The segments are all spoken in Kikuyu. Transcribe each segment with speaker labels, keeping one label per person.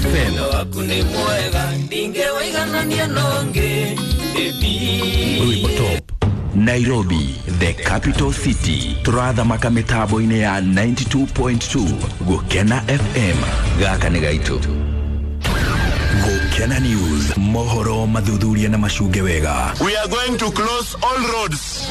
Speaker 1: FM. Rwimbo top Nairobi, the capital city. Turathamaka mitambo-inĩ ya 92.2 Gũkena FM. Gaka nĩ gaitũ. Gũkena News, mohoro mathuthuria na macunge wega.
Speaker 2: We are going to close all roads.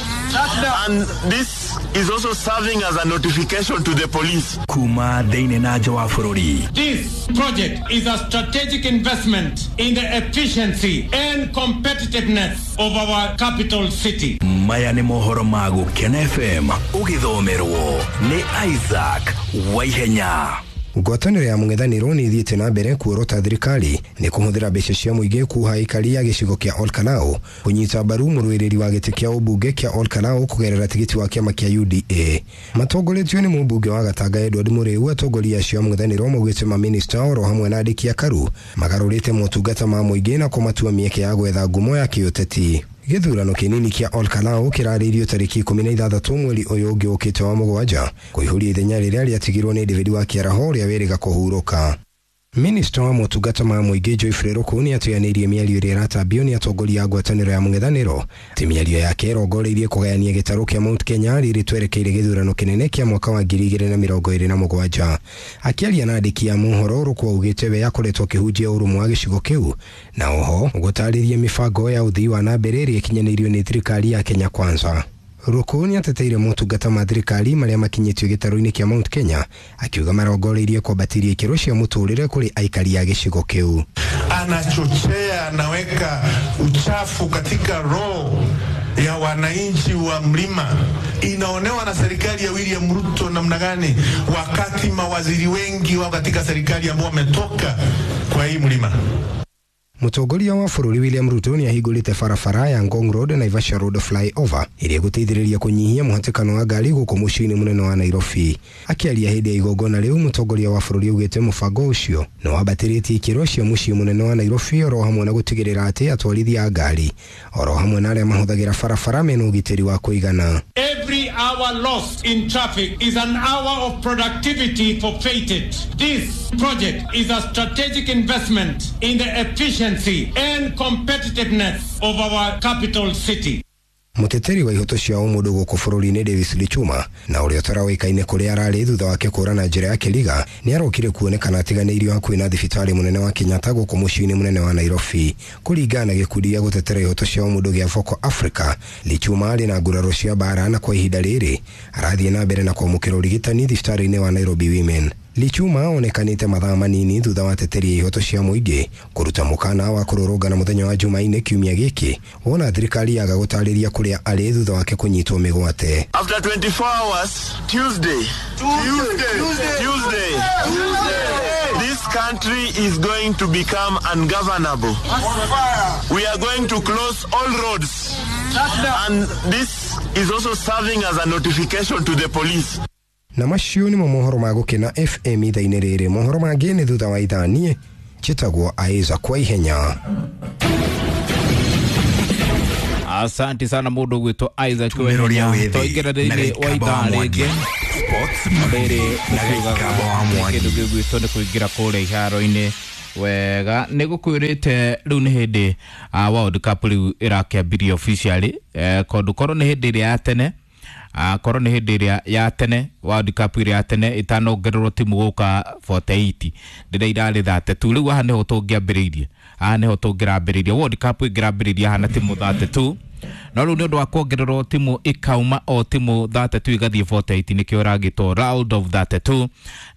Speaker 2: And this is also serving as a notification to the police.
Speaker 1: Kuma thĩinĩ na nja wa bũrũri.
Speaker 3: This project is a strategic investment in the efficiency and competitiveness of our capital city.
Speaker 1: Maya nĩ mohoro ma Gũkena FM ũgĩthomerwo nĩ Isaac Waihenya.
Speaker 4: Ngwatanĩro ya mũng'ethanĩro nĩ ĩthiĩte na mbere kuorota thirikari nĩ kũhũthĩra mbeca cia mũingĩ kuha aikari a gĩcigo kĩa Olkalau kũnyita mbaru mũrũĩrĩri wa gĩtĩ kĩa ũmbunge kĩa Olkalau kũgerera tigiti wa kĩama kĩa UDA. Matongoretio nĩ mũmbunge wa Gatanga Edward Mũrĩu, atongoria acio a mũng'ethanĩro maugĩte mamĩnĩsta oro hamwe na andĩki a karu magarũrĩte motungata ma mũingĩ na kũmatua mĩeke ya gwetha ngumo ya kĩũteti. Gĩthurano kĩnini kĩa Olkalau kĩrarĩirio tarĩki 16 mweri ũyũ ũngĩ ũkĩte wa mũgwanja kũihũria ithenya rĩrĩa rĩatigirwo nĩ David wa Kĩaraho ũrĩa wĩrĩga kũhurũka. Minista wa motungata ma mũingĩ Geoffrey Ruku nĩ atuyanĩirie mĩario ĩrĩa ĩratambio nĩ atongoria a ngwatanĩro ya mũng'ethanĩro atĩ mĩario yake ĩrongoreirie kũgayania gĩtarũ kĩa Mount Kenya rĩrĩ twerekeire gĩthurano kĩnene kĩa mwaka wa 2027. Akĩaria na andĩki a mohoro, Ruku augĩte we akoretwo akĩhunjia ũrũmwe wa gĩcigo kĩu na oho gũtarĩria mĩbango ya ũthii wa na mbere ĩrĩa ĩkinyanĩirio nĩ thirikari ya Kenya Kwanza. Ruku nĩ ateteire motungata ma thirikari marĩa makinyĩtio gĩtarũ-inĩ kĩa Mount Kenya akiuga marongoreirie kwambatĩria ikĩro cia mũtũrĩre kũrĩ aikari a gĩcigo kĩu.
Speaker 5: Anachochea, anaweka uchafu katika roho ya wananchi wa mlima. Inaonewa na serikali ya William Ruto namna gani, wakati mawaziri wengi wao katika serikali ambao wametoka kwa hii mlima.
Speaker 4: Mũtongoria wa bũrũri William Ruto nĩ ahingũrĩte barabara ya Ngong Road Naivasha Road flyover ĩrĩa ĩgũteithĩrĩria kũnyihia mũhatĩkano wa ngari gũkũ mũciĩ-inĩ mũnene wa Nairobi. Akĩaria hĩndĩ ya igongona rĩu, mũtongoria wa bũrũri augĩte mũbango ũcio nĩ wambatĩrĩtie ikĩro cia mũciĩ mũnene wa Nairobi oro hamwe na gũtigĩrĩra atĩ atwarithia a ngari oro hamwe na arĩa mahũthagĩra barabara mena ũgitĩri wa kũigana.
Speaker 3: Every hour lost in traffic is an hour of productivity forfeited. This project is a strategic investment in the efficiency and competitiveness of our capital city.
Speaker 4: Mũteteri wa ihoto cia ũmũndũ gũkũ bũrũri-inĩ Davis Lichuma na ũrĩa ũtarawĩkaine kũrĩa ararĩ thutha wake kũra na njĩra ya kĩriga nĩ arokire kuonekana atiganĩirio hakuhĩ na thibitarĩ mũnene wa Kenyatta gũkũ mũciĩ-inĩ mũnene wa Nairobi. Kũringana na gĩkundi gĩa gũtetera ihoto cia ũmũndũ gĩa Vocal Africa, Lichuma arĩ na nguraro cia mbara na kwa ihinda rĩrĩ arathiĩ na mbere na kwamũkĩra ũrigitani thibitarĩ-inĩ wa Nairobi Women. Lichuma onekanĩte mathaa manini thutha wa teteri ya ihoto cia mũingĩ kũruta mũkana wa kũrũrũngana mũthenya wa Jumaine kiumia gĩkĩ wona thirikari yaga gũtarĩria kũrĩa arĩ thutha wake kũnyitwo mĩgwate.
Speaker 2: After 24 hours, Tuesday, Tuesday, this country is going to become ungovernable. We are going to close all roads. And this is also serving as a notification to the police.
Speaker 4: Na macio nĩmo mohoro ma Gũkena FM ithaa-inĩ rĩrĩ. Mohoro mangĩ nĩ thutha wa ithaa. Niĩ njĩtagwo Isaac kwa ihenya.
Speaker 6: Asante sana mũndũ ũgwĩtwo Isaac
Speaker 1: Tumĩro rĩa
Speaker 6: Waihenya.
Speaker 1: wĩthĩ
Speaker 6: Twaingĩra
Speaker 1: na
Speaker 6: thĩinĩ wa
Speaker 1: Gĩikamba
Speaker 6: ithaa
Speaker 1: wa Mwangi.
Speaker 6: rĩngĩ.
Speaker 1: Sports
Speaker 6: Rĩrĩ
Speaker 1: na Gĩikamba wa Mwangi.
Speaker 6: kĩndũ gĩgwĩtwo nĩ kũingĩra kũrĩa iharo-inĩ wega nĩ gũkwĩrĩte rĩu nĩ hĩndĩ World Cup rĩu ĩrakĩambirie officially, kondũ korwo nĩ hĩndĩ ĩrĩa ya tene, korwo nĩ hĩndĩ ĩrĩa ya tene World Cup ĩrĩa ya tene ĩtanongererwo timu gũka 48 rĩrĩa irarĩ 32, rĩu haha nĩho tũngĩambĩrĩirie, haha nĩho tũngĩrambĩrĩirie World Cup ĩngĩrambĩrĩirie haha na timu 32, no rĩu nĩ ũndũ wa kuongererwo timu ikauma o timu 32 igathiĩ 48, nĩkĩo ĩragĩtwo round of 32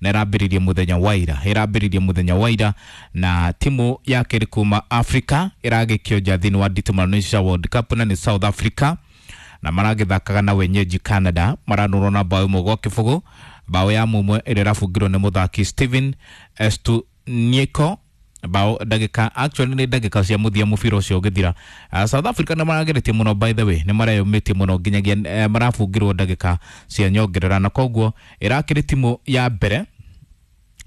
Speaker 6: na ĩrambĩrĩirie mũthenya wa ira, ĩrambĩrĩirie mũthenya wa ira na timu ya kerĩ kuma Africa ĩragĩkio nja thĩinĩ wa nditimũrano ici cia World Cup na nĩ South Africa, na maragĩthakaga na wenyeji Canada, maranũrwo na bao 1-0, bao ya mũmwe ĩrĩa ĩrabungirwo nĩ mũthaki Steven Estunieko bao ndagĩka, actually nĩ ndagĩka cia mũthia mũbira ũcio ũgĩthira. South Africa nĩ marageretie mũno, by the way nĩ mareyũmĩtie mũno nginyagia marabungirwo ndagĩka cia nyongerera, na koguo ĩrakĩrĩ timu ya mbere,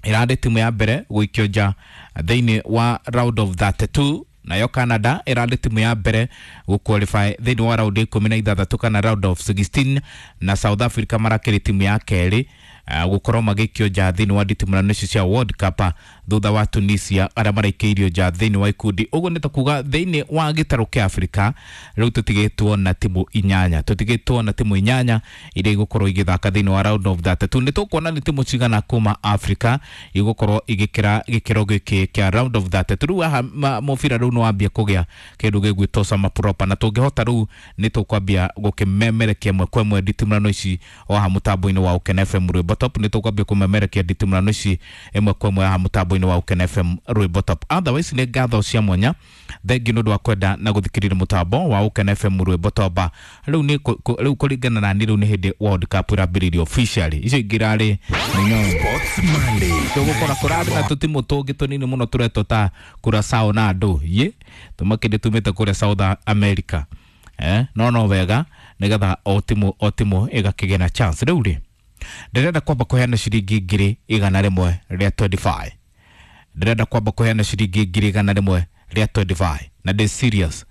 Speaker 6: ĩrarĩ timu ya mbere gũikio nja thĩinĩ wa round of 32, nayo Canada ĩrarĩ timu ya mbere gũqualify thĩinĩ wa round ya 16 kana round of 16, na South Africa marakĩrĩ timu ya kerĩ. Gũkorwo magĩikio nja thĩinĩ wa nditimũrano ici cia World Cup thutha wa Tunisia arĩa maraikĩirio nja thĩinĩ wa ikundi. Ũguo nĩ ta kuga thĩinĩ wa gĩtarũ kĩa Afrika rĩu tũtigĩtwo na timu inyanya, tũtigĩtwo na timu inyanya iria igũkorwo igĩthaka thĩinĩ wa round of 32. Nĩ tũkuona nĩ timu cigana kuma Afrika igũkorwo igĩkĩra gĩkĩro gĩkĩ kĩa round of 32. Rĩu haha mũbira rĩu nĩ wambia kũgĩa kĩndũ gĩgwĩtwo sama proper, na tũngĩhota rĩu nĩ tũkwambia gũkĩmemerekia ĩmwe kwa ĩmwe nditimũrano ici o haha mũtambo-inĩ wa Ũkena FM Rwĩmbo Top. Nĩ tũkwambia kũmemerekia nditimũrano ici ĩmwe kwa ĩmwe haha mũtambo-inĩ wa Ũkena FM Rwĩmbo Top. Otherwise nĩ ngatho cia mwanya, thengiũ nĩ ũndũ wa kwenda na gũthikĩrĩria mũtambo wa Ũkena FM Rwĩmbo Top. Rĩu nĩ rĩu kũringana na niĩ rĩu nĩ hĩndĩ World Cup ĩrambĩrĩirio officially, icio ingĩ irarĩ nĩ nyongo.
Speaker 1: Sports Monday.
Speaker 6: Tũgũkora kũrarĩ na tũtimũ tũngĩ tũnini mũno tũretwo ta Curaçao na andũ ye tũmakĩndĩ tumĩte kũrĩa South America, no wega nĩgetha o timu o timu ĩgakĩgĩa na chance. Rĩu rĩ ndĩrenda kwamba kũheana ciringi 125,000, ndĩrenda kwamba kũheana ciringi 125,000 na ndĩ serious,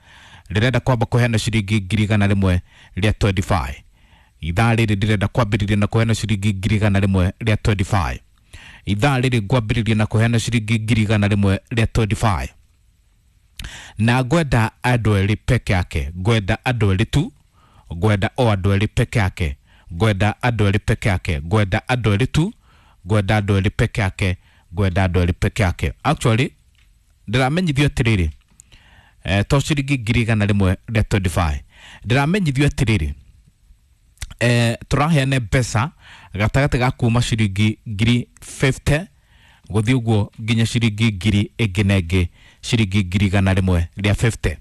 Speaker 6: ndĩrenda kwamba kũheana ciringi 125,000. Ithaa rĩrĩ ndĩrenda kwambĩrĩria na kũheana ciringi 125,000. Ithaa rĩrĩ ngwambĩrĩria na kũheana ciringi 125,000 na ngwenda andũ erĩ peke yake, ngwenda andũ erĩ tu, ngwenda o andũ erĩ peke yake, ngwenda andũ erĩ peke yake, ngwenda andũ erĩ tu, ngwenda andũ erĩ peke yake, ngwenda andũ erĩ peke yake. Actually ndĩramenyithio atĩrĩrĩ, to ciringi 125,000, ndĩramenyithio atĩrĩrĩ, tũraheana mbeca gatagatĩ ga kuma ciringi 50,000 gũthiĩ ũguo nginya ciringi ngiri ĩngĩ na ĩngĩ, ciringi 150,000.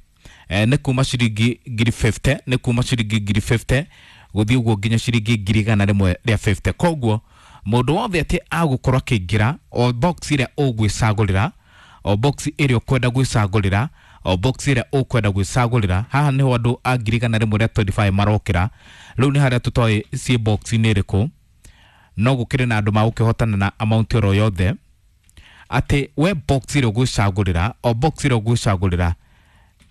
Speaker 6: Nĩ kuma ciringi 50,000, nĩ kuma ciringi 50,000 gũthiĩ ũguo nginya ciringi 150,000. Koguo mũndũ wothe atĩ agũkorwo akĩingĩra o box ĩrĩa ũgwĩcagũrĩra, o box ĩrĩa ũkwenda gwĩcagũrĩra, o box ĩrĩa ũkwenda gwĩcagũrĩra, haha nĩho andũ a 125,000 marokĩra. Rĩu nĩ harĩa tũtoĩ ciĩ box-inĩ ĩrĩkũ, no gũkĩrĩ na andũ magũkĩhotana na amount oro yothe, atĩ we box ĩrĩa ũgwĩcagũrĩra, o box ĩrĩa ũgwĩcagũrĩra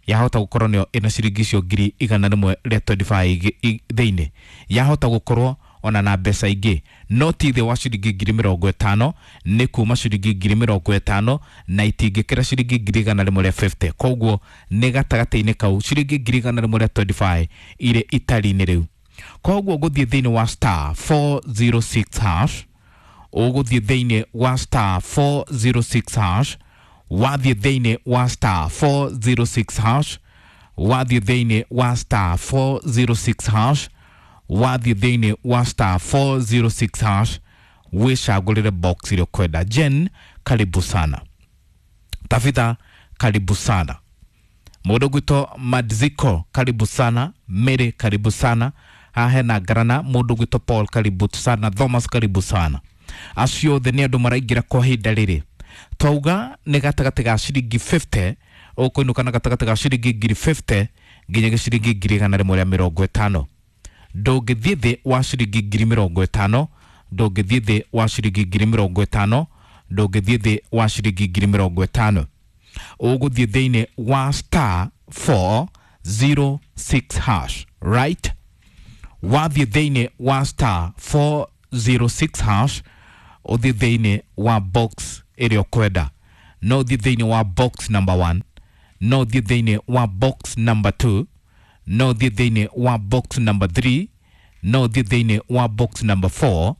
Speaker 6: yahota gũkorwo nĩyo ĩna ciringi icio 125,000 thĩinĩ, yahota gũkorwo ona na mbeca ingĩ, no ti thĩ wa ciringi 50,000, nĩ kuma ciringi 50,000 na itingĩkĩra ciringi 150,000. Koguo nĩ gatagatĩ-inĩ kau ciringi 125,000 irĩ itari-inĩ rĩu. Koguo ũgũthiĩ thĩinĩ wa star 406 hash, ũgũthiĩ thĩinĩ wa star 406 hash, wathiĩ thĩinĩ wa star 406 hash, wathiĩ thĩinĩ wa star 406 hash, wathiĩ thĩinĩ wa star 406 hash, wĩcagũrĩre box ĩrĩa ũkwenda. Jen, karibu sana. Tafitha, karibu sana. Mũndũ gwĩtwo Madziko, karibu sana. Mary, karibu sana. Haha hena Ngarana, mũndũ gwĩtwo Paul, karibu sana. Thomas, karibu sana. Acio othe nĩ andũ maraingĩra kwa ihinda rĩrĩ. Twauga nĩ gatagatĩ ga ciringi 50 ũkũinũka na gatagatĩ ga ciringi 50,000 nginya ciringi 150,000. Ndũngĩthiĩ thĩ wa ciringi 50,000, ndũngĩthiĩ thĩ wa ciringi 50,000, ndũngĩthiĩ thĩ wa ciringi 50,000. Ũgũthiĩ thĩinĩ wa star 406 hash, right? Wathiĩ thĩinĩ wa star 406 hash, ũthiĩ thĩinĩ wa box ĩrĩa ũkwenda. No ũthiĩ thĩinĩ wa box number 1, no ũthiĩ thĩinĩ wa box number 2, no ũthiĩ thĩinĩ wa box number 3, no ũthiĩ thĩinĩ wa box number 4,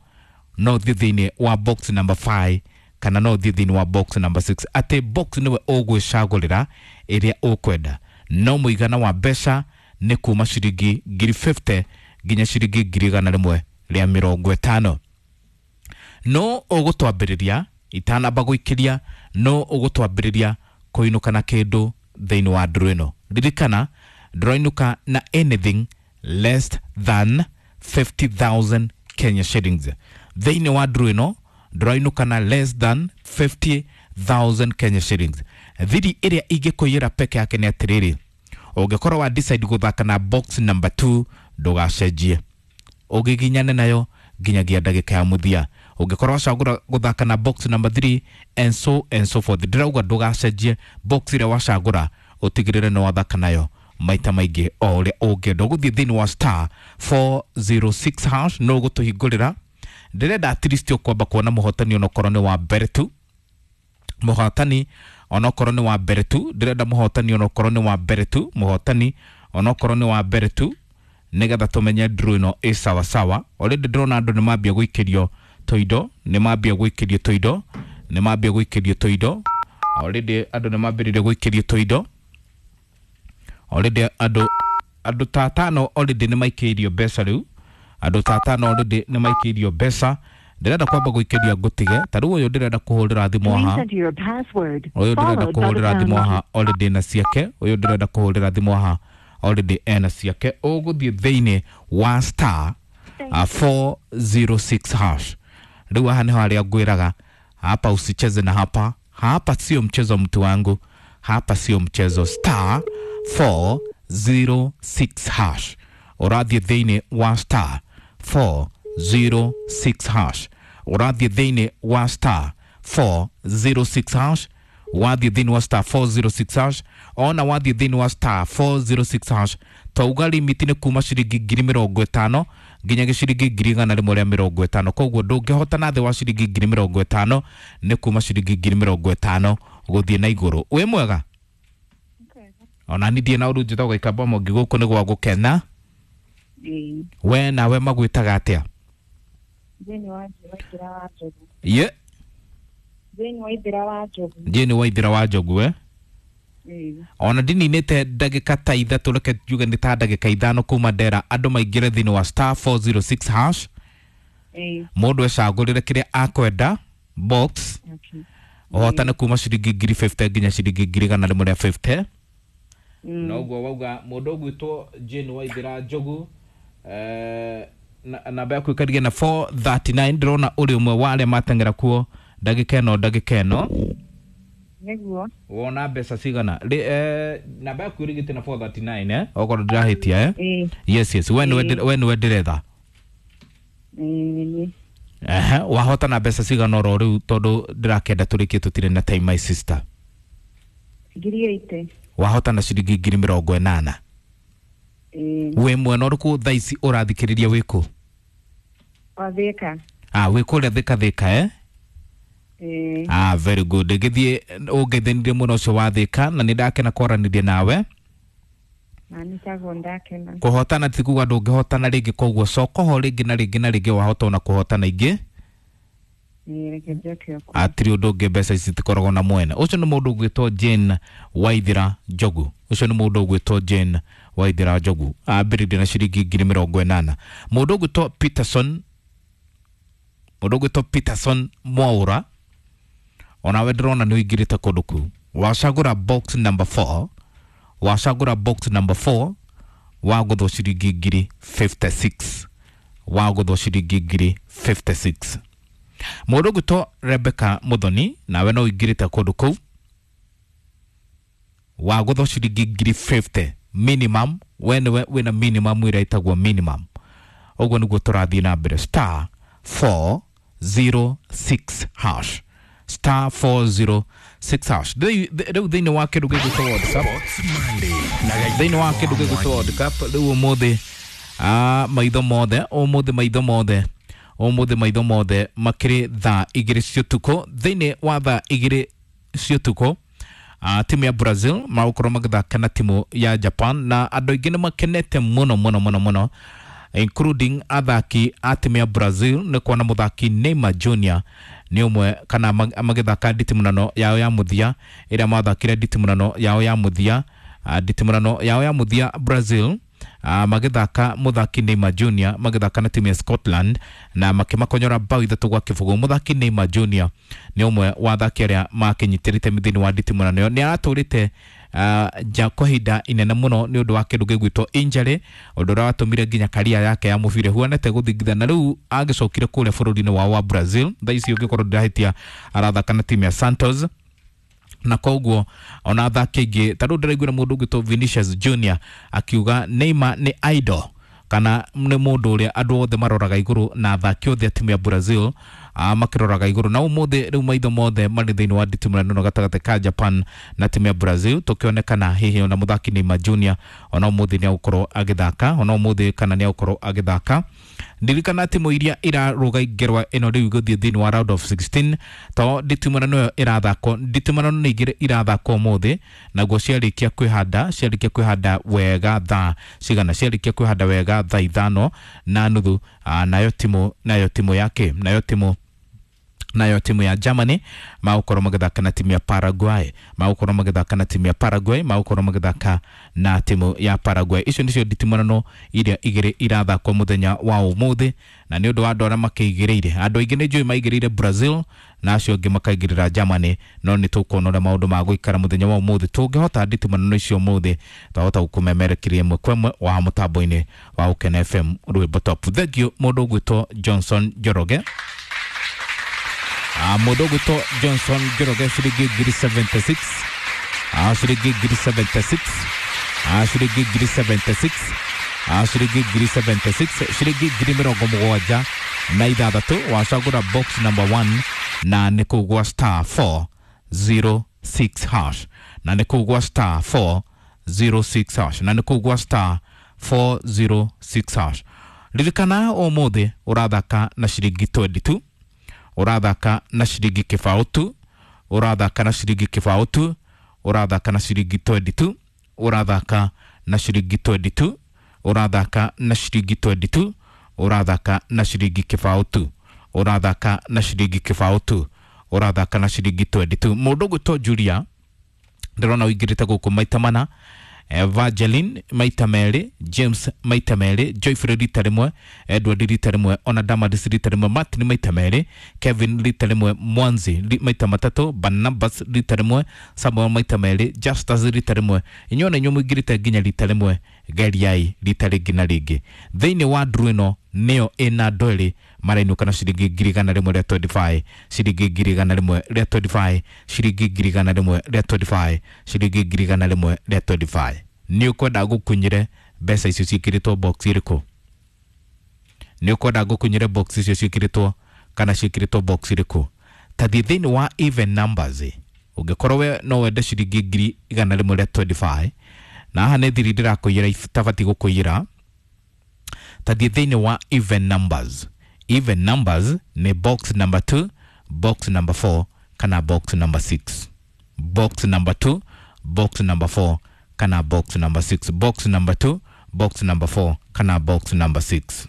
Speaker 6: no ũthiĩ thĩinĩ wa box number 5, kana no ũthiĩ thĩinĩ wa box number 6. Atĩ box nĩwe ũgwĩcagũrĩra ĩrĩa ũkwenda, no mũigana wa mbeca nĩ kuma ciringi 50,000 nginya ciringi 150,000. No ũgũtwambĩrĩria itanamba gũikĩria, no ũgũtwambĩrĩria kũinũka na kĩndũ thĩinĩ wa ndũrũ ĩno. Ririkana ndũrainũka na anything less than 50,000 Kenya shillings. Thĩinĩ wa ndũrũ ĩno ndũrainũka na less than 50,000 Kenya shillings. Thiri ĩrĩa ingĩkũiyĩra peke yake nĩ atĩrĩrĩ, ũngĩkorwo wa decide gũthaka na box number 2 ndũgacenjie, ũgĩginyane nayo nginyagia ndagĩka ya mũthia. Ũngĩkorwo wacagũra gũthaka na box number 3 and so and so forth, ndĩrauga ndũgacenjie box ĩrĩa wacagũra, ũtigĩrĩre nĩ wathaka nayo maita maingĩ o ũrĩa ũngĩenda. Ũgũthiĩ thĩinĩ wa star 406 hash, no ũgũtũhingũrĩra Ndĩrenda at least ũkwamba kuona mũhotani onokorwo nĩ wa mbere tu, mũhotani onokorwo nĩ wa mbere tu. Ndĩrenda mũhotani onokorwo nĩ wa mbere tu, mũhotani onokorwo nĩ wa mbere tu, nĩgetha tũmenye draw ĩno ĩ sawa sawa. Already ndĩrona andũ nĩ mambia gũikĩrio tũindo, nĩ mambia gũikĩrio tũindo, nĩ mambia gũikĩrio tũindo. Already andũ nĩ mambĩrĩria gũikĩrio tũindo. Already andũ ta atano already nĩ maikĩirio mbeca rĩu, andũ ta atano already nĩ maikĩirio mbeca. Ndĩrenda kwamba gũikĩria ngũtige ta rĩu ũyũ ndĩrenda kũhũrĩra thimũ haha, ũyũ ndĩrenda kũhũrĩra thimũ haha already na ciake, ũyũ ndĩrenda kũhũrĩra thimũ haha already ena ciake. Ũgũthiĩ thĩinĩ wa star 406 hash. Rĩu haha nĩho harĩa ngwĩraga hapa usicheze na hapa, hapa sio mchezo mtu wangu, hapa sio mchezo. Star 406 hash, ũrathiĩ thĩinĩ wa star 406 hash, ũrathiĩ thĩinĩ wa star 406 hash, wathiĩ thĩinĩ wa star 406 hash. Ona wathiĩ thĩinĩ wa star 406 hash, twauga limit nĩ kuma ciringi 50,000 nginya gĩciringi 150,000. Koguo ndũngĩhotana thĩ wa ciringi 50,000, nĩ kuma ciringi 50,000 gũthiĩ na igũrũ. Wĩ mwega? Ona ni ndiĩ na ũru, njĩtagwo Gĩkamba Mwangi, gũkũ nĩ gwa gũkena. We nawe magwĩtaga atĩa?
Speaker 7: Jane Waithira wa Njogu.
Speaker 6: Ye?
Speaker 7: Jane Waithira wa Njogu.
Speaker 6: Jane Waithira wa Njogu, eh? Ona ndininĩte ndagĩka ta ithatũ, reke njuge nĩ ta ndagĩka ithano kuma ndera andũ maingĩre thĩinĩ wa star 406 hash, mũndũ ecagũrĩre kĩrĩa akwenda box, ũhotane kuma ciringi 50,000 nginya ciringi 150,000. Noguo wauga mũndũ ũgwĩtwo Jane Waithira Njogu, namba yaku ĩkarige na 439. Ndĩrona ũrĩ ũmwe wa arĩa mateng'era kuo ndagĩka ĩno, ndagĩka ĩno.
Speaker 7: Nĩguo.
Speaker 6: Wona mbeca cigana? Namba yaku ĩrigĩte na 439, eh, okorwo ndĩrahĩtia, eh? Yes, yes, we nĩwe ndĩretha. Ehe, wahotana mbeca cigana oro rĩu, tondũ ndĩrakĩenda tũrĩkie, tũtirĩ na time, my sister?
Speaker 7: 80,000.
Speaker 6: Wahotana ciringi 80,000. Wĩ mwena ũrĩkũ thaa ici ũrathikĩrĩria, wĩkũ?
Speaker 7: Wa Thĩka.
Speaker 6: Ah, wĩ kũrĩa Thĩka, Thĩka, eh? Ah, very good. Gĩthiĩ ũngeithanirie mũno ũcio wa Thĩka, na nĩ ndakena kwaranĩria nawe.
Speaker 7: Na nĩtaguo, ndakena.
Speaker 6: Kũhotana ti kuga ndũngĩhotana rĩngĩ, koguo coka ho rĩngĩ na rĩngĩ na rĩngĩ, wahota ona kũhotana ingĩ.
Speaker 7: Reke njoke o.
Speaker 6: Atirĩ ũndũ ũngĩ, mbeca ici citikoragwo na mwene. Ũcio nĩ mũndũ ũgwĩtwo Jane Waithira Njogu, ũcio nĩ mũndũ ũgwĩtwo Jane Waithira Njogu, ambĩrĩirie na ciringi 80,000. Mũndũ ũgwĩtwo Peterson, mũndũ ũgwĩtwo Peterson Mwaũra, onawe ndĩrona nĩ ũingĩrĩte kũndũ kũu, wacagũra box number 4, wacagũra box number 4, wagũthwo ciringi 56,000, wagũthwo ciringi 56,000. Mũndũ ũgwĩtwo Rebecca Muthoni, nawe no ũingĩrĩte kũndũ kũu, wagũthwo ciringi 50,000 minimum. We nĩwe wĩna minimum ĩrĩa ĩtagwo minimum. Ũguo nĩguo tũrathiĩ na mbere. Star 406 hash, star 406 hash. Rĩu thĩinĩ wa kĩndũ gĩgwĩtwo World Cup, thĩinĩ wa kĩndũ gĩgwĩtwo World Cup rĩu ũmũthĩ, maitho mothe ũmũthĩ, maitho mothe ũmũthĩ, maitho mothe makĩrĩ thaa 2 cia ũtukũ. Thĩinĩ wa thaa 2 cia ũtukũ, timu ya Brazil magũkorwo magĩthaka na timu ya Japan, na andũ aingĩ nĩ makenete mũno mũno mũno mũno, including athaki a timu ya Brazil, nĩ kuona mũthaki Neymar Jr nĩ ũmwe kana magĩthaka nditimũrano yao ya mũthia ĩrĩa mathakire, nditimũrano yao ya mũthia, nditimũrano yao ya mũthia Brazil, magĩthaka, mũthaki Neymar Jr magĩthaka na timu ya Scotland na makĩmakonyora bao 3-0. Mũthaki Neymar Jr nĩ ũmwe wa athaki arĩa makĩnyitĩrĩte thĩinĩ wa nditimũrano ĩyo. Nĩ aratũrĩte nja kwa ihinda inene mũno nĩ ũndũ wa kĩndũ gĩgwĩtwo injury, ũndũ ũrĩa watũmire nginya karia yake ya mũbira ĩhuanĩte gũthingitha, na rĩu agĩcokire kũrĩa bũrũri-inĩ wao wa Brazil. Thaa ici ũngĩkorwo ndĩrahĩtia arathaka na timu ya Santos, na koguo ona athaki aingĩ ta rĩu ndĩraiguire mũndũ ũgwĩtwo Vinicius Junior akiuga Neymar nĩ idol, kana nĩ mũndũ ũrĩa andũ othe maroraga igũrũ, na athaki othe a timu ya Brazil makĩroraga igũrũ. Na ũmũthĩ rĩu maitho mothe marĩ thĩinĩ wa nditimũrano ĩno gatagatĩ ka Japan na timu ya Brazil, tũkĩonekana hihi ona mũthaki Neymar Junior ona ũmũthĩ nĩ egũkorwo agĩthaka, ona ũmũthĩ kana nĩ egũkorwo agĩthaka. Ndirikana timu iria iraruga ngerwa ĩno rĩu igũthiĩ thĩinĩ wa round of 16 to nditimũrano ĩyo ĩrathakwo, nditimũrano nĩ igĩrĩ irathakwo ũmũthĩ, naguo ciarĩkia kwĩhanda, ciarĩkia kwĩhanda wega thaa cigana, ciarĩkia kwĩhanda wega thaa 5:30, nayo timu yake nayo timu ya Germany magũkorwo magĩthaka na timu ya Paraguay, magũkorwo magĩthaka na timu ya Paraguay, magũkorwo magĩthaka na timu ya Paraguay. Icio nĩcio nditimũrano iria igĩrĩ irathakwo mũthenya wa ũmũthĩ, na nĩ ũndũ wa andũ arĩa makĩigĩrĩire, andũ aingĩ nĩ njũĩ maigĩrĩire Brazil na acio angĩ makaigĩrĩra Germany, no nĩ tũkuona ũrĩa maũndũ magũikara mũthenya wa ũmũthĩ. Tũngĩhota nditimũrano icio ũmũthĩ twahota gũkũmemerekeria ĩmwe kwa ĩmwe wa mũtambo-inĩ wa Ũkena FM rwĩmbo top. Thank you mũndũ ũgwĩtwo Johnson Njoroge. Mũndũ ũgwĩtwo Johnson Njoroge ciringi ngiri 76, ciringi ngiri 76, ciringi ngiri 76, ciringi ngiri 76, ciringi ngiri 76 wacagũra box number 1 na nĩ kũu gwa star 406 hash, na nĩ kũu gwa star 406 hash, na nĩ kũu gwa star 406 hash. Ririkana ũmũthĩ ũrathaka na ciringi 22, ũrathaka na ciringi kĩbaũ tu, ũrathaka na ciringi kĩbaũ tu, ũrathaka na ciringi 22, ũrathaka na ciringi 22, ũrathaka na ciringi 22, ũrathaka na ciringi kĩbaũ tu, ũrathaka na ciringi kĩbaũ tu, ũrathaka na ciringi 22. Mũndũ ũgwĩtwo Julia ndĩrona ũingĩrĩte gũkũ maita mana, Evangeline maita merĩ, James maita merĩ, Joyfrey rita rĩmwe, Edward rita rĩmwe, ona Damaris rita rĩmwe, Martin maita merĩ, Kevin rita rĩmwe, Mwanzi maita matatũ, Barnabas rita rĩmwe, Samuel maita merĩ, Justus rita rĩmwe. Inyuĩ ona inyuĩ mũingĩrĩte nginya rita rĩmwe, geriai rita rĩngĩ na rĩngĩ. Thĩinĩ wa nduru ĩno nĩyo ĩna andũ erĩ marainũka na ciringi ngiri igana rĩmwe rĩa 25, ciringi ngiri igana rĩmwe rĩa 25, ciringi ngiri igana rĩmwe rĩa 25, ciringi ngiri igana rĩmwe rĩa 25. Nĩ ũkwenda ngũkunyĩre mbeca icio ciĩkĩrĩtwo box ĩrĩkũ? Nĩ ũkwenda ngũkunyĩre box icio ciĩkĩrĩtwo kana ciĩkĩrĩtwo box ĩrĩkũ? Ta thiĩ thĩinĩ wa even numbers, ũngĩkorwo we no wende ciringi ngiri igana rĩmwe rĩa 25, na haha nĩ thiri ndĩrakũiyĩra itabatiĩ gũkũiyĩra. Ta thiĩ thĩinĩ wa even numbers. Even numbers nĩ box number 2, box number 4 kana box number 6. Box number 2, box number 4 kana box number 6. Box number 2, box number 4 kana box number 6.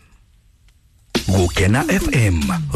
Speaker 1: Gukena FM.